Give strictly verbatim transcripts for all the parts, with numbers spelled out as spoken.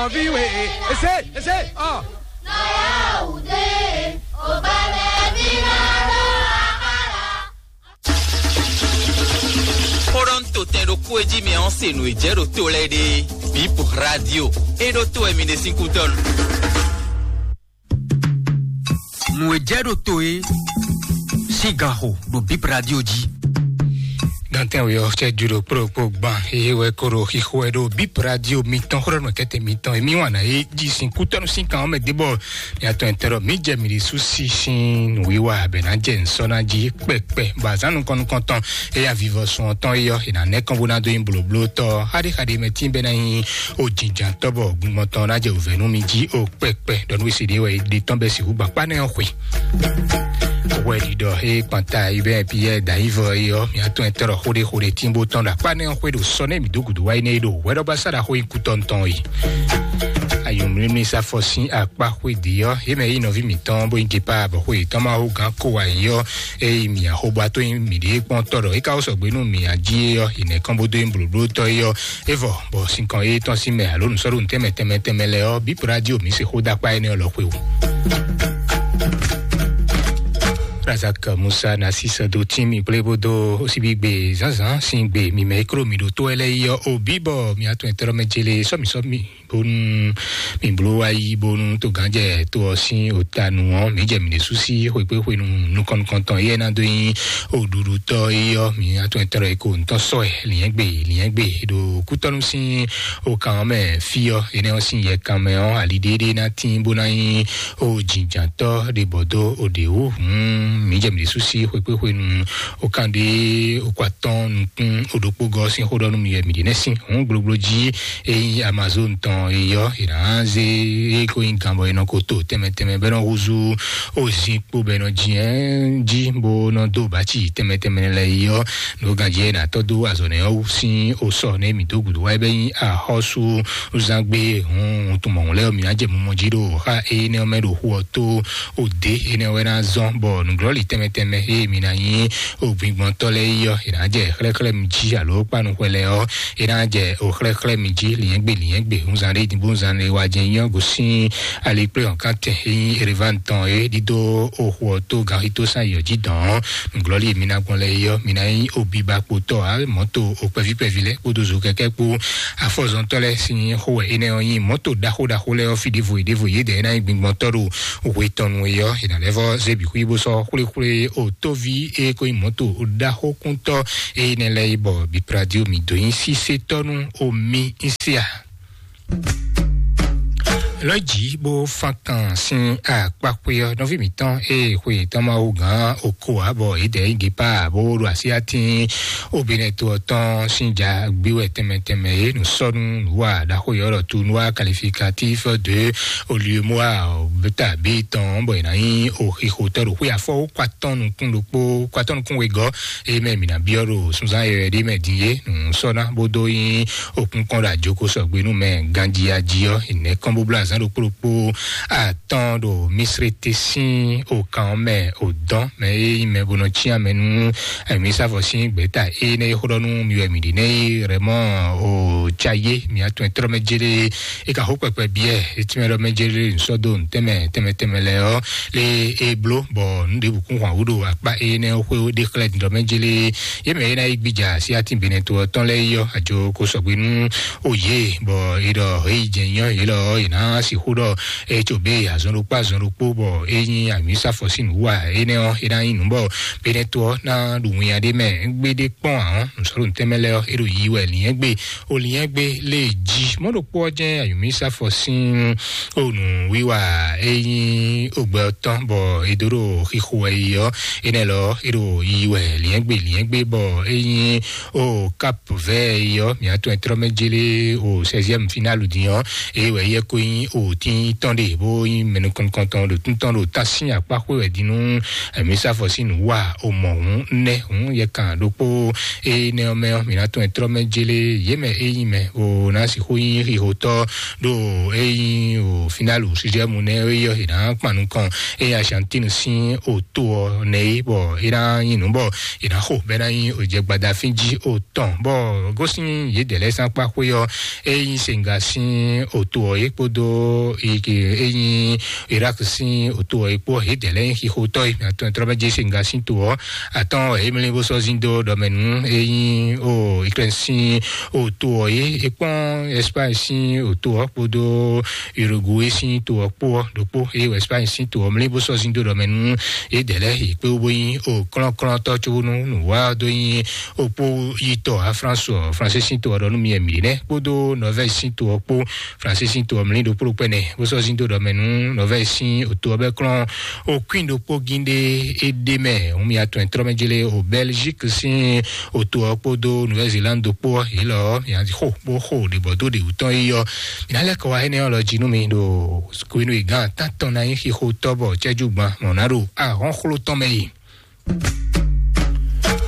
Ɔvi we, ese, ese, ɔ. Xɔɖɔn to tɛn ɖo kú e jí mi ɔ́ se nǔ e jɛ ɖo to lɛ́ɛ ɖe. Bip radio. E ɖo to wɛ mi ɖe sín kútɔ́ nu. Nǔ e jɛ ɖo to e sín ganxo ɖo Bip Radio jí. Gantɛn we ɔ́, cɛ ju ɖo kplɔ́kplɔ́ gban eye wɛ ko ɖo xixo wɛ ɖo Bip Radio mitɔn xó ɖɔ nɔ kɛtɛ mitɔn emi wan na ye jí sin kútɔ́nu sín kan ɔ́ mɛ dé bɔ mi atɔn ɛtɛ ɖɔ mi jɛ mi ɖi sú sí sín nǔwiwa bɛ ná jɛ nsɔ́ ná jí kpɛkpɛ bɔ azán nukɔn nukɔntɔn eye avivɔ sun ɔtɔn eyɔ e ná nɛ́ kɔn bó ná dó nyi blǒblótɔ́ xaɖéxaɖé mɛ tín bɛ ná nyi o jǐnjǎntɔ́ bɔ gbingbɔn tɔn ná jɛ wǔvɛ́ nú mi jí o kpɛkpɛ ɖɔ nú esi ɖé wɛ ɖe tɔn bɛ sixú gban kpá nɛ́ ɔ́ xwe. Hwɛɖiɖɔ e kpanta yi bɛ Piyɛ́ɛ da yi vɔ yi ɔ́, mi atɔn ɛtɛ ɖɔ xóɖé xóɖé tín bó tɔn ɖo akpá nɛ́ ɔ́ xwe ɖo sɔ nɛ́ mi dó gǔdo wá yi nɛ́ yi ɖo hwɛɖɔbasa ɖo axó yi kútɔ́ ntɔn yi. Ayɔmlímlí sáfɔ sín akpá xwe dě ɔ́, yě mɛ yí nɔví mǐtɔn bó nyí gepa bɔ xwe yětɔn ma hó gǎn ko wá yi ɔ́, eye mi axóbɔ atɔ́ nyi mǐɖée kpɔ́n tɔ́ ɖɔ é ka wó sɔgbe nú mi ají é ɔ́, yi nɛ̌ kɔn bó dó nyí blǒblótɔ́ é ɔ́, é vɔ bɔ sinkɔn é tɔ́n sín mɛ alo nǔsɔ́ɖonu tɛnmɛ tɛnmɛ tɛnmɛ lɛ́ɛ ɔ́, bǐ radio mǐ se xó dó akpá énɛ́ ɔ́ lɔ xwe o. Razak Musa Nasis do tín mi kplé bó dó síbígbe zǎnzǎn sín gbe mi mɛ é kló mi ɖo tó wɛ lɛ́ɛ yi ɔ́, o bǐ bɔ mi atɔn ɛtɛ́ mɛ jele sɔ́mi sɔ́mi bónú mi bló wá yí bónú togánjɛ tó ɔ́ sín òtanu ɔ́, mǐ jɛ mǐ ɖésú sí xwekpéxwenu nukɔn nukɔntɔn éyɛ́ ná dó nyí òɖuɖutɔ́ é ɔ́, mǐ atɔn ɛtɛ́ lɔ é ko ntɔ́ sɔ́ ɛ lǐnyɛ́gbe lǐnyɛ́gbe ɖo kútɔ́nú sín okan ɔ́ mɛ fí ɔ́, énɛ́ ɔ́ sín yɛkan mɛ ɔ́, ali ɖéɖé ná tín bó ná nyí o jǐnjǎntɔ́ ɖe bɔ dó o ɖě wú. Hǔn mǐ jɛ mǐ ɖésú sí xwekpéxwenu okan ɖé okó atɔ́ɔ́n nukún o ɖokpó gɔ́ sín xó ɖɔ nú mi wɛ mǐ ɖe nɛ́ sín hǔn gblogblo jí. Ényí Amazon tɔn e yɔ, è nǎ zé é ko nyí gan bɔ è nɔ ko to tɛnmɛ tɛnmɛ bɔ é nɔ húzú o zinkpo bɔ è nɔ jǐ jí bó nɔ dó bǎci tɛnmɛ tɛnmɛ lɛ́ɛ yi ɔ́, nǔ ganjí e nǎ tɔ́ dó azɔ̌ nɛ́ ɔ́ wú sín o sɔ nɛ́ mǐ dó gǔdo wá é bɛ́ nyí axɔ́súzángbe hun tunmɔ̌hun lɛ́ɛ ɔ́, mǐ ná jɛ mumɔ jí ɖo xá énɛ́ ɔ́ mɛ ɖo xu ɔ́ tó. Òde énɛ́ wɛ ná zɔ́n bɔ nǔglɔ́lǐ tɛnmɛ tɛnmɛ e mǐ ná nyí ògbingbɔntɔ́ lɛ́ɛ yi ɔ́, è nǎ jɛ xlɛ́xlɛ́ mi jí alo kpánu xwɛ lɛ́ɛ ɔ́, é ná jɛ o xlɛ́xlɛ́ mi jí liɛ́ngbé liɛ́ngbé hunzan ɖé din bó zan lé wá jɛ nyɔ́ gosín alikplé hɔn kántɛn e nyí Erevan tɔn é ɖídó o xu ɔ́ tó ganxító sán yɔ jí dɔn ɔ́, nǔglɔ́lí e mi ná gbɔn lɛ́ɛ é ɔ́, mi ná nyí o biba kpotɔ́ ǎ mɔ̌to o kpɛví kpɛví lɛ́ɛ kpódó zo kɛkɛ́ kpó afɔzɔntɔ́ lɛ́ɛ sín xó wɛ énɛ́ ɔ́ nyí. Mɔ̌to ɖaxó ɖaxó lɛ́ɛ ɔ́ fí ɖěvo yě ɖěvo yě dɛ̌ ná nyí gbingbɔntɔ́ ɖo hwe tɔn nu é ɔ́, è nǎ lɛ́ vɔ́ zé bǐ xwí bó sɔ́ xwléxwlé o tóví e ko nyí mɔ̌to ɖaxókúntɔ́ énɛ́ lɛ́ɛ yi bɔ bipradio mǐ dó nyí sísétɔ́ nú omi ín se a? Lɔ̌ jǐ bó fán kan sín akpákpé ɔ́, nɔví mǐtɔn e xwe yětɔn ma wú gǎn oko ǎ, bɔ yědɛɛ yí gěpá bó ɖo asyátín obinɛto ɔ́ tɔn sín ja gbé wɛ tɛnmɛ tɛnmɛ é nǔ sɔ́ nú nǔwa ɖaxó yɔ́ ɖɔ tournoi qualificatif de oliemoa beta b tɔn bɔ è nǎ nyí oxixotɔ́ ɖo xwé afɔ wó kó atɔ́n nukún ɖokpó kó atɔ́n nukún wegɔ́. Eye mɛ mǐ ná byɔ́ ɖo sunzán yɔyɔ ɖé mɛ din é nǔ sɔ́ ná bó dó nyí òkúnkɔ́n ɖo àjoko sɔgbe nú mɛ ganjí ají ɔ́, ìnɛ́ kɔn bó bló azǎn ɖokpó ɖokpó atɔ́n ɖo Misrete sín okan ɔ́ mɛ òdɔn mɛ e nyí mɛ bó nɔ cyán mɛ nú ayǐmísávɔ sín gběta énɛ́ e xó ɖɔ nú mi wɛ mǐ ɖi nɛ́ é rɛmɔ o cayé mi atɔn e tlɔ́ mɛ jélé e ka xó kpɛkpɛ biɛ etí mɛ ɖɔ mɛ jélé nsɔ́ dó ntɛ́mɛ tɛmɛ tɛmɛ lɛ ɔ́ lé e bló bɔ nǔ ɖěbǔ kún hwan wú ɖo akpá énɛ́ ɔ́ xwé ɖé xlɛ́ ɖɔ mɛ jélé yě mɛ é ná yi gbíjà sí atín benɛto ɔ́ tɔn lɛ́ɛ yi ɔ́ ajo ko sɔgbe nú o yě bɔ é ɖɔ é yi jɛ nyɔ yě lɔ é ná sixú ɖɔ é tso bé azɔn ɖokpó azɔn ɖokpó bɔ é nyí amǐsafɔ sín nǔwa énɛ́ ɔ́ é ná nyí nǔ bɔ benɛto ɔ́ ná ɖu winnya ɖé mɛ gbéɖé kpɔ́n ahɔn nǔsɔ́ɖo tɛmɛ lɛ́ɛ ɔ́ é ɖo yi wɛ lǐnyɛ́gbe o lǐnyɛ́gbe lé jí mɔ̌ ɖokpó ɔ́ jɛ́n ayǔmísafɔ sín o nǔwiwa é nyí ogbɛ ɔ́ tɔn bɔ é dó ɖo xixo wɛ yi ɔ́ énɛ́ lɔ é ɖo yi wɛ lǐnyɛ́gbe lǐnyɛ́gbe bɔ é nyí o kap vɛ yi ɔ́ mǐ atɔn ɛtrɔ́ mɛ jélé o seizième finale din ɔ́ é wɛ yɛ ko nyí òtín tɔn ɖe bó nyí mɛnukɔntɔn ɖo tún tɔn ɖo tán sín akpá xwé wɛ din nú mǐ sá fɔ sín nǔ wa o mɔ hǔn nɛ́ hǔn yɛ kan ɖokpó. Énɛ́ ɔ́ mɛ ɔ́, mǐ ná tún ɛ tlɔ́ mɛ jélé yě mɛ é nyí mɛ o ná sixú nyí xixotɔ́ ɖo é nyí o fínálu sizɛ́mu nɛ́ é yɔ è nǎ kpan nukɔn é Argentine sín òto ɔ́ nɛ é bɔ é ná nyí nǔ bɔ è nǎ xo bɔ é ná nyí òjɛgbada fíjí o tɔn bɔ gosín yědɛɛ lɛ́ɛ sín akpá xwé ɔ́, é nyí Senga sín òto ɔ́ é kpódó é nyí Irak sín òto ɔ́ é kpó yědɛɛ lɛ́ɛ nyí xixotɔ́ e mǐ atɔn tlɔ́ mɛ jɛ Senga sín to ɔ́ atɔ́n wɛ é mlí bó sɔ́ zín dó ɖɔ mɛ nú é nyí o Ukraine sín òto ɔ́ é é kpɔ́n Espagne sín òto ɔ́ kpódó Uruguay sín to ɔ́ kpó ɔ́ ɖokpó eye wɔ Espagne sín to ɔ́ mlí bó sɔ́ zín dó ɖɔ mɛ nú yědɛɛ lɛ́ɛ yě kpé wú bó nyí o klɔ́nklɔ́ntɔ́ có nú nǔwá ɔ́ dó nyí okpó yitɔ a France ɔ France sín to ɔ́ ɖɔ nú mi ɛ mǐ nɛ́ kpódó Norvège sín to ɔ́ kpó France sín to ɔ́ mlí ɖokpó ɖokpó ɛnɛ bó sɔ́ zín dó ɖɔ mɛ nú Norvège sín to ɔ́ bɛ́ klɔ́n o Queen ɖokpó gín ɖé é ɖé mɛ òun mi atɔn ɛ tlɔ́ mɛ jélé o Belgique sín to ɔ́ kpódó Nouvelle-Zélande ɖokpó ɔ́ yě lɔ ɔ́ mi xo bó xo ɖě bɔ dó ɖě wú tɔn é yɔ. Mǐ ná lɛ́ kɔ wá énɛ́ ɔ́ lɔ jí nú mi ɖo Kwenu e gán tántɔn ná nyí xixo tɔ́ bɔ cɛ́jú gban mɔ̌ ná ɖo ahɔ́nxló tɔn mɛ yi.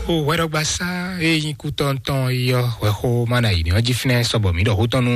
O hwɛɖɔgbasá e nyí kútɔ́ntɔn yi ɔ́ hwɛxó má na yi ní ɔ́ jí fínɛ́ sɔbɔ mǐ ɖɔ xó tɔn nú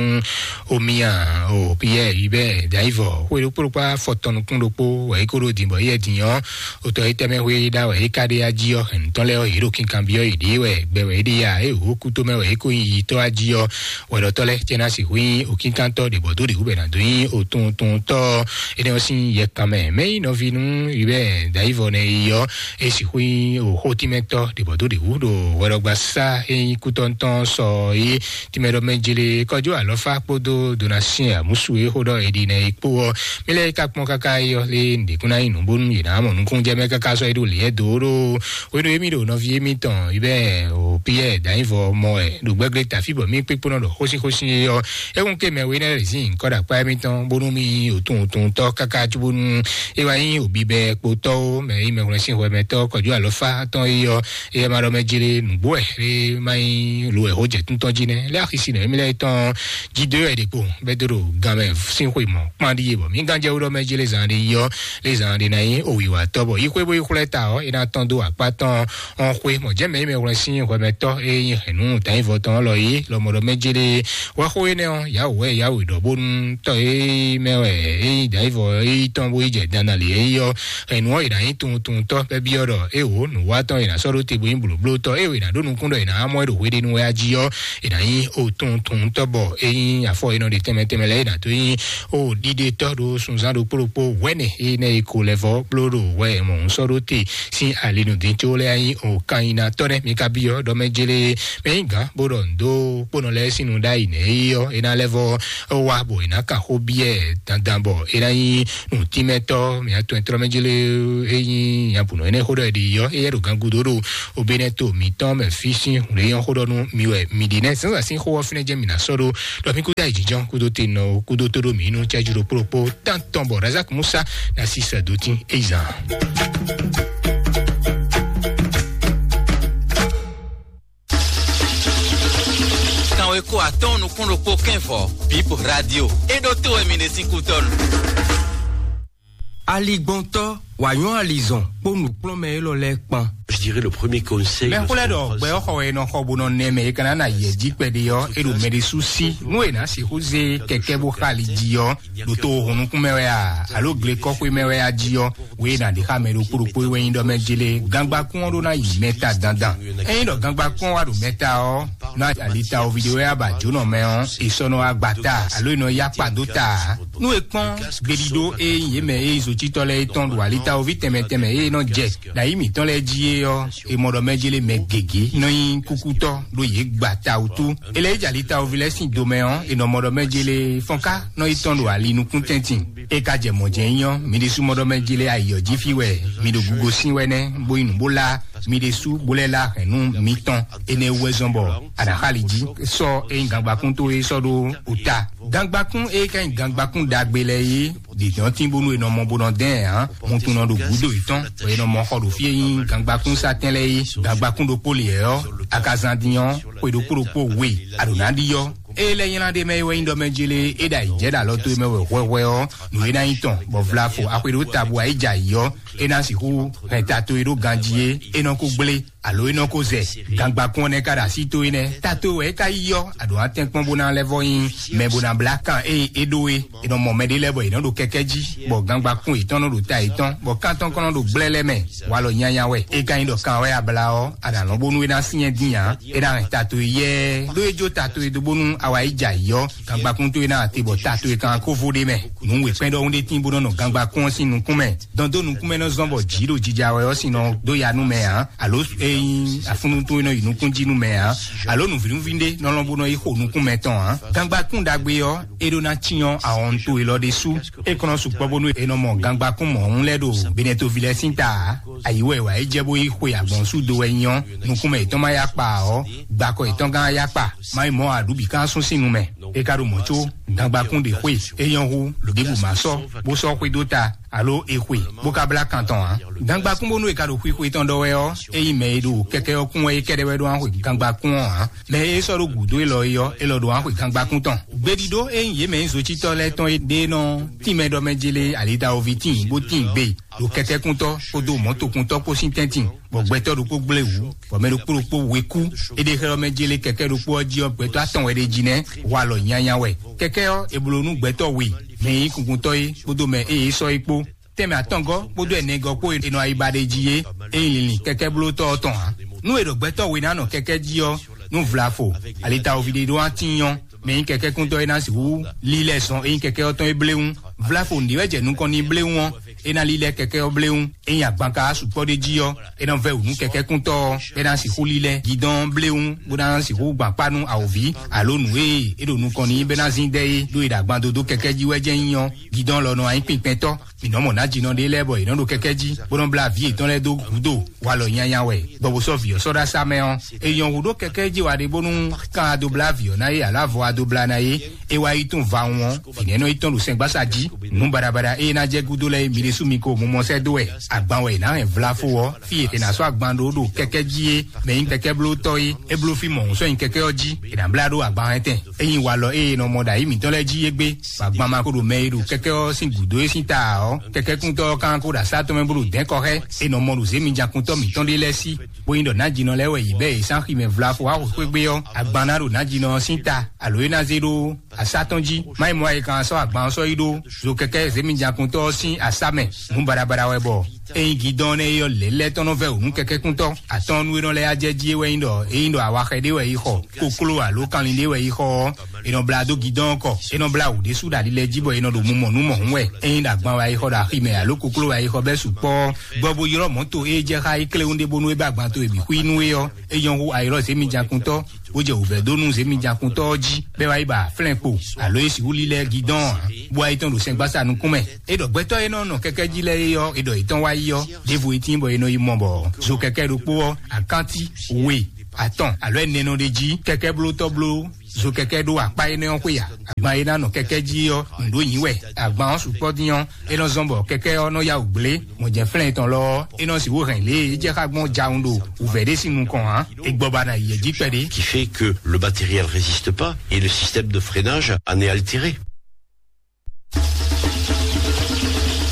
omia o Piyɛ́ɛ yi bɛ́ dǎyivɔ xwé ɖokpó ɖokpó afɔ tɔn nukún ɖokpó wɛ é kó ɖó din bɔ éyɛ́ din ɔ́, otɔ yi tɛmɛ xwé ɖá wɛ é ka ɖe ají ɔ́ hɛn tɔn lɛ́ɛ ɔ́ yě ɖo kinkanbyɔ́ yě ɖée wɛ gbɛ wɛ é ɖe ya é wǒ kútó mɛ wɛ é kó nyi yitɔ́ ají ɔ́, wɛɖɔtɔ́ lɛ́ɛ cɛ ná sixú nyí òkínkantɔ́ ɖě bɔ dó ɖě wú bɛ ná dó nyí òtuntɔntɔ́. Énɛ́ ɔ́ sín yɛ kan mɛ mɛ nyí nɔví nú yi bɛ dayivɔ nɛ yi ɔ́, é sixú nyí òxó tínmɛtɔ́ ɖě bɔ dó ɖě wú ɖo hwɛɖɔgbasá é nyí kútɔ́ntɔ́ sɔ é tínmɛ ɖɔ mɛ jele kɔjó alɔfá kpódó donasiɛn àmúsu é xó ɖɔ èɖi nɛ yi kpó ɔ́. Mí lɛ́ɛ ka kpɔ́n káká yi ɔ́ lé nǔɖékún ná nyí nǔ bónú yě ná mɔ nukúnnú jɛ mɛ káká sɔ́ é ɖo lě ɛ dó ɖó. Hwenu e mì ɖo nɔví émítɔn yi bɛ o Piyɛ́ɛ dǎnyivɔ mɔ ɛ ɖo gbɛgbɛ tafí bɔ mí kpékpónɔ ɖɔ xósíxósí é ɔ́, é kún ké mɛ we nɛ́ lɛ́ zín nyǐkɔ ɖo akpá émítɔn bónú mì yi òtún òtún tɔ́ káká cúbónú é wá nyí òbíbɛ́ kpotɔ́ ó mɛ é mɛ wlɛ́ sín hwɛmɛtɔ́ kɔjú alɔfá tɔn é ɔ́, é ma ɖɔ mɛ jlé nǔgbó wɛ é ma nyí lo wɛ xó jɛ tún tɔn jí nɛ́ lé axisi nɛ émí lɛ́ɛ tɔn jí dó wɛ ɖě kpo bɛ́ dó ɖo gan mɛ sín xwe mɔ kpán ɖíe bɔ mí gán jɛ wú ɖɔ mɛ jlé zan ɖé yi ɔ́, lé zan ɖé ná nyí òwìwátɔ́ bɔ yi xwé bó yi xwlɛ́ ta ɔ́ é ná tɔ́n dó akpá tɔn ɔ́n xwé mɔ jɛ́ mɛ yi mɛ wlɛ́ sín hwɛmɛtɔ́ é nyí hɛ̌nnu dǎnyivɔ tɔn lɔ yé lɔmɔɖɔ mɛ jlé wɛ xó énɛ́ ɔ́ yǎwǔ wɛ yǎwǔ ɖɔ bónú tɔ́ é mɛ wɛ é nyí dǎnyivɔ é yi tɔn bó yi jɛ dandan lě é yi ɔ́, hɛ̌nnu ɔ́ è nǎ nyí tuntuntɔ́ bɛ́ byɔ́ ɖɔ é wǒ nǔwatɔ́ è nǎ sɔ́ ɖó te bó nyí blǒblótɔ́ é è nǎ ɖó nukún ɖɔ è nǎ mɔ ɛ ɖo hweɖénu wɛ á jí ɔ́, è nǎ nyí o tuntuntɔ́ bɔ é nyí afɔ e nɔ ɖe tɛnmɛ tɛnmɛ lɛ́ɛ è nǎ dó nyí o ɖiɖetɔ́ ɖo sunzán ɖokpó ɖokpó wɛ̌nɛ énɛ́ e ko lɛ́ vɔ́ bló ɖo wɛ mɔ̌hunsɔ́ ɖó te sín alinudín có lɛ́ɛ nyí o kannyinatɔ́ nɛ́ mi ka byɔ́ ɖɔ mɛ jélé mɛ nyí gǎn bó ɖɔ nǔ dó kpónɔ lɛ́ɛ sín nu ɖ'ayǐ nɛ́ é ɔ́ é ná lɛ́ vɔ́ wá bɔ è nǎ kan xó byɔ́ ɛ dandan bɔ é ná nyí nǔtínmɛtɔ́ mǐ atɔn e tlɔ́ mɛ jélé é nyí nyabǔnɔ énɛ́ xó ɖɔ è ɖi ɔ́ éyɛ́ ɖo gangúdo ɖo obénɛ́ to mǐtɔn mɛ fí sín hǔn e nyɔ́ xó ɖɔ nú mi wɛ mi ɖi nɛ́ zǎnzǎn sín xó ɔ́ fínɛ́ jɛ́n mǐ ná sɔ́ ɖó ɖɔ mí kúdó ayǐjínjɔ́n kúdó te nɔ kúdó tó ɖó mǐ nú cɛ́jú ɖokpó ɖokpó tántɔn bɔ razak musa ná sí sɛ dó tín é zǎn. Kanweko atɔ́ɔ́n nukún ɖokpó kɛ́n vɔ bíp radio é ɖó tó wɛ mi ɖe sín kútɔ́nu. Aligbɔntɔ́ wǎ nyɔ́ alizɔn kpó nǔkplɔ́nmɛ élɔ́ lɛ́ɛ kpan. Je dirais le premier conseil. Mɛxwlɛ́ ɖɔ gbɛ ɔ́ xɔ wɛ nɔ xɔ bó nɔ nɛ mɛ e ka ná na yɛ jí kpɛɖé ɔ́ é ɖo mɛɖésú sí nú è nǎ sixú zé kɛkɛ́ bó xa ali jí ɔ́ ɖo tó hunnukún mɛ wɛ a alo glekɔxwé mɛ wɛ a jí ɔ́ wé ná ɖi xá mɛ ɖokpó ɖokpó wɛ nyí ɖɔ mɛ jélé gangbakún ɔ́ ɖó ná yi mɛ ta dandan. Ényí ɖɔ gangbakún ɔ́ wá ɖo mɛ ta ɔ́ ná alita ovi ɖé wɛ á ba jǒnɔ mɛ ɔ́ è sɔ́ nɔ wá gba ta alo è nɔ yá kpa dó ta ǎ. Nú è kpɔ́n gbeɖiɖó e nyí yě mɛ e nyí zotítɔ́ lɛ́ɛ é tɔn ɖo alitawoví tɛnmɛ tɛnmɛ e nɔ jɛ ɖo ayǐ mǐtɔn lɛ́ɛ jí é ɔ́, è mɔ ɖɔ mɛ jélé mɛ gěgé nɔ nyí kúkútɔ́ ɖó yě gba ta wútu. È lɛ́ yi jɛ alitawoví lɛ́ɛ sín domɛ ɔ́, è nɔ mɔ ɖɔ mɛ jélé fɔ́nká nɔ yi tɔn ɖo ali nukún tɛntin. É ka jɛ mɔ̌ jɛ́n nyí ɔ́, mi ɖésú mɔ ɖɔ mɛ jélé ayǐ ɔ́ jí fí wɛ mi ɖo gugo sín wɛ nɛ́, bó yi nǔ bó lá mi ɖésú bó lɛ́ lá hɛ̌nnu mitɔn. Énɛ́ wú wɛ zɔ́n bɔ a nǎ xa ali jí sɔ́ é nyí gangbakún towe sɔ́ ɖó ota. Gangbakún e ka nyí gangbakún ɖagbe lɛ́ɛ é ɖě dɔn tín bónú è nɔ mɔ bó nɔ dɛn ǎ. Wuntun nɔ ɖo gǔdo yětɔn, bɔ è nɔ mɔ xɔ ɖo fí e nyí gangbakún satɛn lɛ́ɛ é. Gangbakún ɖokpó lě ɔ́, a ka zán dín ɔ́, xwe ɖokpó ɖokpó we a ɖǒ ná ɖi ɔ́, É lɛ́ nylá ɖé mɛ é wɛ nyí ɖɔ mɛ jélé é ɖo ayǐjɛ ɖo alɔ towe mɛ wɛ hwɛhwɛ ɔ́, nǔ e ná nyí tɔn, bɔ vlafo axwe ɖó tabu ayíjà yǐ ɔ́, é ná sixú hɛn ta towe ɖó ganjí é, é nɔ ko gblé, alo é nɔ ko zɛ. Gangbakún ɔ́ nɛ́ ka ɖo así towe nɛ́, ta towe wɛ é ka yí ɔ́, a ɖǒ ná tɛ́n kpɔ́n bó ná lɛ́ vɔ́ nyí mɛ bó ná blá kan ée é ɖó é. È nɔ mɔ mɛɖé lɛ́ɛ bɔ yě nɔ ɖo kɛkɛ́ jí, bɔ gangbakún yětɔn nɔ ɖo ta yětɔn, bɔ kan tɔn kɔn nɔ ɖo gblɛ́ lɛ́ɛ mɛ. Walɔ nyanya wɛ. É ka nyí ɖɔ kan wɛ a blá ɔ́, a nǎ lɔn bónú é ná syɛ́n dín ǎ. É ná hɛn ta towe yɛ́ɛ, ɖó é jó ta towe dó bónú a wá yi jɛ ayǐ ɔ́, gangbakún towe ná te bɔ ta towe kan kó vo ɖ'é mɛ. Nǔ wěkpɛ́n ɖɔhun ɖé tín bó nɔ nɔ gangbakún ɔ́ sín nukún mɛ. Dɔn dó nukún mɛ nɔ zɔ́n bɔ jǐ ɖo jija wɛ ɔ́ sín nɔ dó ya nú mɛ ǎ, alo é nyí afúnnu towe nɔ yi nukún jí nú mɛ ǎ, alo nǔvínúví ɖé nɔ lɔn bó nɔ yi xo nukún mɛ tɔn ǎ. Gangbakún ɖagbe ɔ́, é ɖó ná cyɔ́n ahɔnto élɔ́ ɖésú. É kɔn nɔ sukpɔ́ bónú è nɔ mɔ gangbakún mɔ̌hun lɛ́ɛ ɖo Benɛtoví lɛ́ɛ sín ta ǎ. Ayi wɛ wǎ é jɛ bó yi xwe agbɔ̌nsú do wɛ nyɔ́, nukúnmɛ yětɔn ma yá kpa ɔ́, gbakɔ yětɔn gán yá kpa, má nyí mɔ̌ ǎ ɖu bǐ ká sún sín nu mɛ. É ka ɖo mɔ̌ có, gangbakún ɖě xwe, é nyɔ́ hú, lǒ ɖěbǔ má sɔ́, bó sɔ́ xwé dó ta, alo è xwe, bó ka blá kan tɔn ǎ. Gangbakún bónú è ka ɖo xwixwe tɔn ɖɔ wɛ ɔ́, é nyí mɛ e ɖo kɛkɛ ɔ́ kún wɛ é kɛ́ɖɛ́ wɛ ɖó ná xwe gangbakún ɔ́ ǎ. Mɛ e sɔ́ ɖó gǔdo élɔ́ é ɔ́, élɔ́ ɖó ná xwe gangbakún tɔn. Gběɖíɖó e nyí yě mɛ e nyí zotsítɔ́ lɛ́ɛ tɔn é ɖe nɔ tínmɛ ɖɔ mɛ jélé ali Dawoví tíin bó tíin gbe ɖo kɛkɛ́kúntɔ́ kpódó mɔ̌tokuntɔ́ kpó sín tɛ́ntin, bɔ gbɛtɔ́ ɖokpó gblé wǔ, bɔ mɛ ɖokpó ɖokpó we kú. É ɖe xlɛ́ ɔ́ mɛ jélé kɛkɛ́ ɖokpó ɔ́ jí ɔ́, gbɛtɔ́ atɔn wɛ ɖ'é jí nɛ́, walɔ nyanya wɛ. Kɛkɛ́ ɔ́, è blǒ nú gbɛtɔ́ we, mɛ e nyí kunkuntɔ́ é kpódó mɛ e é sɔ́ é kpó. Tɛnmɛ atɔngɔ́ kpódó ɛnɛgɔ́ kpó e nɔ ayiba ɖ'é jí é, é nyí linlin kɛkɛ́ blótɔ́ ɔ́ tɔn ǎ. Nú è ɖɔ gbɛtɔ́ we ná nɔ kɛkɛ́ jí ɔ́, nú vlafo, ali Dawoví ɖé ɖó ná tíin ɔ́, mɛ e nyí kɛkɛ́kúntɔ́ é ná sixú lílɛ́ zɔn é nyí kɛkɛ́ ɔ́ tɔn é bléwún. Vlafo nǔɖé wɛ jɛ nukɔn n'i bléwún ɔ́, é ná lílɛ́ kɛkɛ́ ɔ́ bléwún. É nyí agban ka sukpɔ́ ɖé jí ɔ́, é ná vɛ́ wǔ nú kɛkɛ́kúntɔ́ ɔ́, é ná sixú lílɛ́ gidɔ́n ɔ́ bléwún, bó ná sixú gbǎn kpá nú awǒvi, alo nǔ e é ɖo nukɔn n'i bɛ́ ná zín dɛ́ é, ɖó è ɖo agban dó dó kɛkɛ́ jí wɛ jɛ́n nyí ɔ́, gidɔ́n lɔ nɔ wá nyí kpinkpɛntɔ́. Mǐ nɔ mɔ nǎjínɔ ɖé lɛ́ɛ bɔ yě nɔ ɖo kɛkɛ́ jí, bó nɔ blá vǐ yětɔn lɛ́ɛ dó gǔdo. Walɔ nyanya wɛ, bɔ bó sɔ́ vǐ ɔ́ sɔ́ ɖó asá mɛ ɔ́, è nyɔ́ hú ɖó kɛkɛ́ jí wa ɖe bónú kan adobla vǐ ɔ́ ná é, alǎ vɔ adobla ná é, é wá yi tún va wɔn ɔ́, vǐ nɛ́ nɔ yi tɔ́n ɖo sɛngbásá jí. Nǔ baɖabaɖa e é ná jɛ gúdo lɛ́ɛ é, mi ɖésú mi ko mumɔ sɛ́ dó wɛ. Agban wɛ è nǎ hɛn vlafo ɔ́, fí e è nǎ sɔ́ agban ɖó ɖo kɛkɛ́ jí é, mɛ nyí kɛkɛ́ bló tɔ́ é, é bló fí mɔ̌hun sɔ́ nyi kɛkɛ́ ɔ́ jí, è nǎ blá ɖó agban hɛn tɛn. É nyí walɔ e è nɔ mɔ ɖo ayǐ mǐtɔn lɛ́ɛ jí égbé, bɔ agban ma ko ɖo mɛ e ɖo kɛkɛ́ ɔ́ sín gǔdo é sín ta ǎ ɔ́, kɛkɛ́kúntɔ́ ɔ́ kán ko ɖo asá tɔn mɛ bó ɖo dɛ̌n kɔ xá ɛ. É nɔ mɔ ɖo zěmijǎkúntɔ́ mǐtɔn ɖé lɛ́ɛ sí, bó nyí ɖɔ nǎjínɔ lɛ́ɛ wɛ yě bɛ́ yě sín axi mɛ vlafo wá xwexwé gbé ɔ́, agban ná ɖo nǎjínɔ ɔ́ sín ta, alo é ná zé ɖó asá tɔn jí. Má nyí mɔ̌ wɛ è kan sɔ́ agban ɔ́ sɔ́ yi ɖó zo kɛkɛ́ zěmijǎkúntɔ́ ɔ́ sín asá mɛ. Nǔ baɖabaɖa wɛ bɔ é nyí gidɔ́ɔ́n nɛ́ é ɔ́, lě lɛ́ɛ tɔn nɔ vɛ́ wǔ nú kɛkɛ́kúntɔ́. Atɔ́ɔ́nú e nɔ lɛ́ yá jɛ jí é wɛ nyí ɖɔ é nyí ɖɔ awáxɛ ɖé wɛ yi xɔ, kokló alo kanlin ɖé wɛ yi xɔ ɔ́, è nɔ blá dó gidɔ́ɔ́n kɔ. É nɔ blá wǔ ɖésú ɖo ali lɛ́ɛ jí bɔ è nɔ ɖo mumɔ nú mɔ̌hun wɛ. É nyí ɖo agban wɛ yi xɔ ɖo axi mɛ alo kokló wɛ yi xɔ bɛ́ sukpɔ́ ɔ́, gbɔ bó ylɔ́ mɔ̌ to e jɛ xá é kléwún ɖé bónú é bá agban towe bǐ xwí nú é ɔ́, é nyɔ́ hú a ylɔ́ zěmijǎkúntɔ́, bó jɛ wǔvɛ́ dó nú zěmijǎkúntɔ́ ɔ́ jí, bɔ é wá yi ba flɛ́n kpo, alo é sixú lílɛ́ gidɔ́ɔ́n ǎ, bó wá yi tɔ́n ɖo sɛngbásá nukún mɛ. É ɖɔ gbɛtɔ́ e nɔ nɔ kɛkɛ́ jí lɛ́ɛ é ɔ́, é ɖɔ yětɔn wá yi ɔ́, ɖěvo é tíin bɔ è nɔ yi mɔ bɔ zo kɛkɛ́ ɖokpó ɔ́, akántí, we, atɔn, alo ɛnɛ nɔ ɖ'é jí, kɛkɛ́ blótɔ́ bló zo kɛkɛ́ ɖó akpá énɛ́ ɔ́ xwé a? Agban e ná nɔ kɛkɛ́ jí ɔ́, nǔ ɖó nyǐ wɛ. Agban ɔ́ sukpɔ́ dín ɔ́, é nɔ zɔ́n bɔ kɛkɛ́ ɔ́ nɔ yá wǔ gblé. Mɔ̌jɛ́nflɛ́n tɔn lɔ ɔ́, é nɔ sixú hɛn lě e é jɛ xá gbɔn jawun ɖo wǔvɛ́ ɖé sín nukɔn ǎ. É gbɔ ba ná yi yɛ jí kpɛɖé. Qui fait que le matériel résiste pas et le système de freinage en est altéré.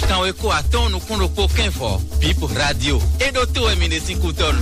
Kanwe ko atɔ́ɔ́n nukún ɖokpó kɛ́nvɔ, Bip Radio. É ɖótó wɛ mi ɖe sín kútɔ́nu.